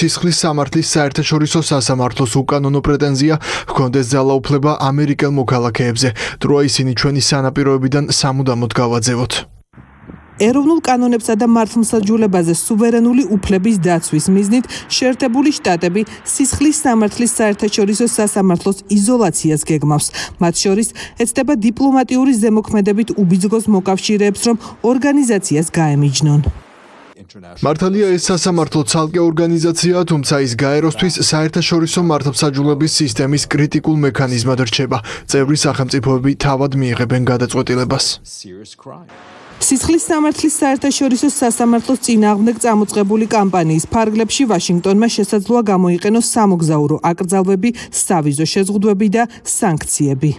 სისხლის სამართლის საერთაშორისო სასამართლოს უკანონო პრეტენზია ჰქონდეს ძალაუფლება ამერიკელ მოქალაქეებზე, დროა ისინი ჩვენი სანაპიროებიდან სამუდამოდ გავაძევოთ. ეროვნულ კანონებსა და მართლმსაჯულებაზე სუვერენული უფლების დაცვის მიზნით შეერთებული შტატები სისხლის სამართლის საერთაშორისო სასამართლოს იზოლაციას გეგმავს. მათ შორის ეცდება დიპლომატიური ზემოქმედებით უბიძგოს მოკავშირეებს, რომ ორგანიზაციას გაემიჯნონ. მართალია ეს სასამართლო ცალკე ორგანიზაციაა, თუმცა ის გაეროსთვის საერთაშორისო მართლმსაჯულების სისტემის კრიტიკულ მექანიზმად რჩება. წევრი სახელმწიფოები თავად მიიღებენ გადაწყვეტილებას. სისხლის სამართლის საერთაშორისო სასამართლოს წინააღმდეგ წამოწყებული კამპანიის ფარგლებში ვაშინგტონმა შესაძლოა გამოიყენოს სამოგზაურო აკრძალვები, სავიზო შეზღუდვები და სანქციები.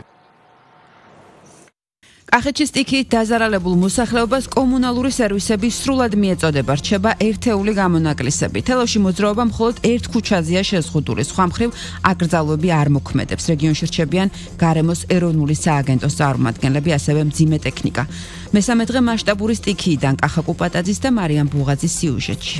კახეთში სტიქიით დაზარალებულ მოსახლეობას კომუნალური სერვისები სრულად მიეწოდება, რჩება ერთეული გამონაკლისები. თელავში მოძრაობა მხოლოდ ერთ ქუჩაზეა შეზღუდული, სხვა მხრივ აკრძალვები არ მოქმედებს. რეგიონში რჩებიან გარემოს ეროვნული სააგენტოს წარმომადგენლები, ასევე მძიმე ტექნიკა. მესამე დღე მასშტაბური სტიქიიდან კახა კუპატაძის და მარიამ ბუღაძის სიუჟეტში.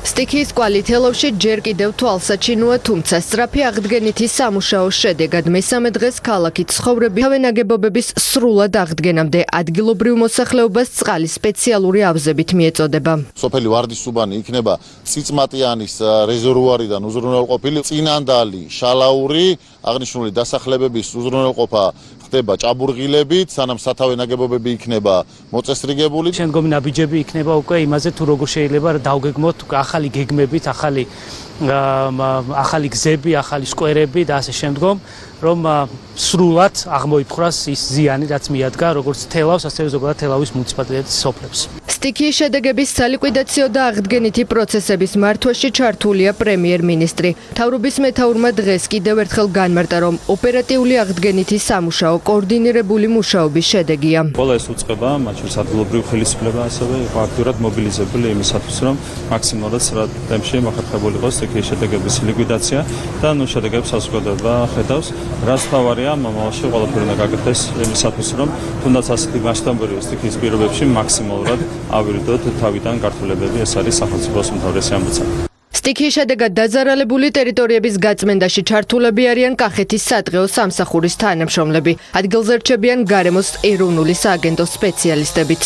სტიქიის კვალი თელავში ჯერ კიდევ თვალსაჩინოა, თუმცა სწრაფი აღდგენითი სამუშაოს შედეგად მესამე დღეს ქალაქით ცხოვრები თავე ნაგებობების სრულად აღდგენამდე ადგილობრივ მოსახლეობას წყალი სპეციალური ავზებით მიეწოდება. სოფელი ვარდისუბანი იქნება წიწმატიანის რეზერვუარიდან უზრუნველყოფილი, წინანდალი, შალაური, აღნიშნული დასახლებების უზრუნველყოფა ხდება ჭაბურღილებით, სანამ სათავე ნაგებობები იქნება მოწესრიგებული. შემდგომი ნაბიჯები იქნება უკვე იმაზე, თუ როგორ შეიძლება დავგეგმოთ ახალი გეგმებით, ახალი გზები, ახალი სკვერები და ასე შემდგომ, რომ სრულად აღმოიფხვრას ის ზიანი, რაც მიადგა როგორც თელავს, ასევე ზოგადად თელავის მუნიციპალიტეტის სოფლებს. სტიქიის შედეგების სალიკვიდაციო და აღდგენითი პროცესების მართვაში ჩართულია პრემიერ-მინისტრი. მთავრობის მეთაურმა დღეს კიდევ ერთხელ განმარტა, რომ ოპერატიული აღდგენითი სამუშაო კოორდინირებული მუშაობის შედეგია. ყველა ეს უწყება, მათ შორის ადგილობრივი ხელისუფლება ასევე იყო აქტიურად მობილიზებული იმისათვის, რომ მაქსიმალურად სრულად ტემპში მოხერხებული იყოს სტიქიის შედეგების ლიკვიდაცია და შედეგების საზოგადოება ხედავს. რაც თავარია, მომავალში ყველაფერი უნდა გაკეთდეს იმისათვის, რომ თუნდაც ასეთი მასშტაბური სტიქიის პირობებში მაქსიმალურად ავირიდოთ თავიდან გართულებები, ეს არის სახელმწიფოს უმთავრესი ამბიცა. სტიქიის შედეგად დაზარალებული ტერიტორიების გაწმენდაში ჩართულები არიან კახეთის სადღეო სამსახურის თანამშრომლები. ადგილზე რჩებიან გარემოს ეროვნული სააგენტოს სპეციალისტებიც.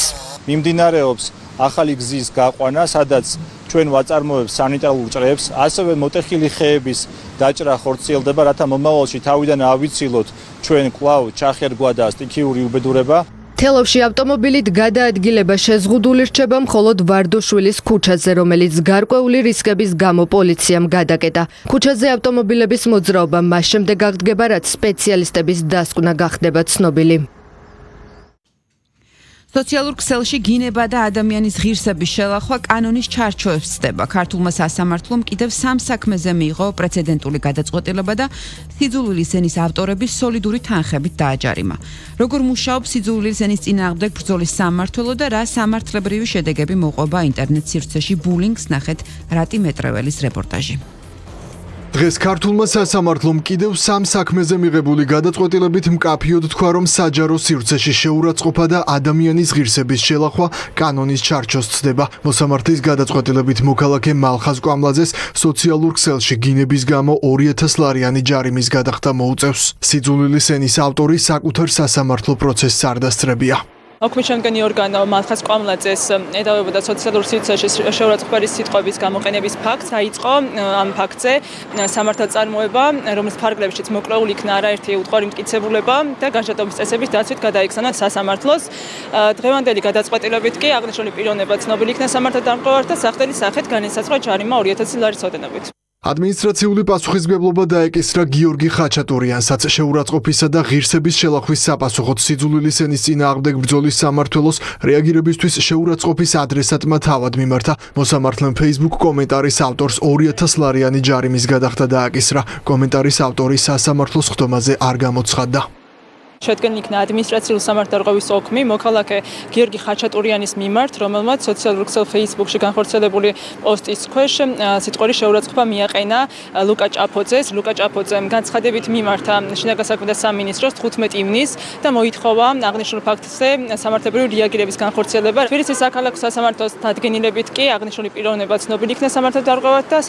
მიმდინარეობს ახალი გზის გაყვანა, სადაც ჩვენ ვაწარმოებთ სანიტარულ ჭრებს, ასევე მოტეხილი ხეების დაჭრა ხორციელდება, რათა მომავალში თავიდან ავიცილოთ ჩვენ კვლავ ჩახერგვა და სტიქიური უბედურება. თელავში ავტომობილით გადაადგილება შეზღუდული რჩება მხოლოდ ვარდოშვილის ქუჩაზე, რომელიც გარკვეული რისკების გამო პოლიციამ გადაკეტა. ქუჩაზე ავტომობილების მოძრაობა მას შემდეგ აღდგება, რაც სპეციალისტების დასკვნა გახდება ცნობილი. სოციალურ ქსელში გინება და ადამიანის ღირსების შელახვა კანონის ჩარჩოებს ცდება. ქართულმა სასამართლომ კიდევ 3 საქმეზე მიიღო პრეცედენტული გადაწყვეტილება და სიძულვილის ენის ავტორების სოლიდური თანხებით დააჯარიმა. როგორ მუშაობს სიძულვილის ენის წინააღმდეგ ბრძოლის სამმართველო და რა სამართლებრივი შედეგები მოყვება ინტერნეტ სივრცეში ბულინგს, ნახეთ რატი მეტრეველის რეპორტაჟი. დღეს ქართულმა სასამართლომ კიდევ 3 საქმეზე მიღებული გადაწყვეტილებით მკაფიოდ თქვა, რომ საჯარო სივრცეში შეურაცხყოფა და ადამიანის ღირსების შელახვა კანონის ჩარჩოს ცდება. მოსამართლის გადაწყვეტილებით მოქალაქე მალხაზ კვამლაძეს სოციალურ ქსელში გინების გამო 2000 ლარიანი ჯარიმის გადახდა მოუწევს. სიძულვილის ენის ავტორი საკუთარ სასამართლო პროცესს არ დასწრებია. მოქმედშემდგენი ორგანო მალხაზ კვამლაძეს ედავებოდა სოციალურ სივრცეში შეურაცხყოფის სიტყვების გამოყენების ფაქტს. დაიწყო ამ ფაქტზე სამართალწარმოება, რომლის ფარგლებშიც მოკვლეული იქნა არაერთი უთხარი მტკიცებულება და განშტოების წესების დაცვით გადაიქცანა სასამართლოს. დღევანდელი გადაწყვეტილებით კი აღნიშნული პიროვნება ცნობილი იქნა სამართალდამყართა სახელი სახით განისაზღვრა ჯარიმა 2000 ლარის ოდენობით. ადმინისტრაციული პასუხისმგებლობა დაეკისრა გიორგი ხაჩატურიანსაც შეურაცხყოფისა და ღირსების შელახვის საპასუხოდ სიძულვილის ენის წინააღმდეგ ბრძოლის სამმართველოს რეაგირებისთვის შეურაცხყოფის ადრესატმა თავად მიმართა. მოსამართლემ Facebook კომენტარის ავტორს 2000 ლარიანი ჯარიმის გადახდა დააკისრა. კომენტარის ავტორი სასამართლოს ხდომაზე არ გამოცხადდა. შედგენილი იქნა ადმინისტრაციული სამართალდამყარების ოქმი მოქალაქე გიორგი ხაჩატურიანის მიმართ, რომელმაც სოციალურ ქსელ Facebook-ში განხორციელებული პოსტის ქვეშ სიტყვური შეურაცხყოფა მიაყენა ლუკა ჭაფოძეს. ლუკა ჭაფოძემ განცხადებით მიმართა შინაგან საქმეთა სამინისტროს 15 ივნისს და მოითხოვა აღნიშნულ ფაქტზე სამართლებრივი რეაგირების განხორციელება. თბილისის საქალაქო სასამართლოს დადგენილებით კი აღნიშნული პიროვნება ცნობილი იქნა სამართალდამყარად და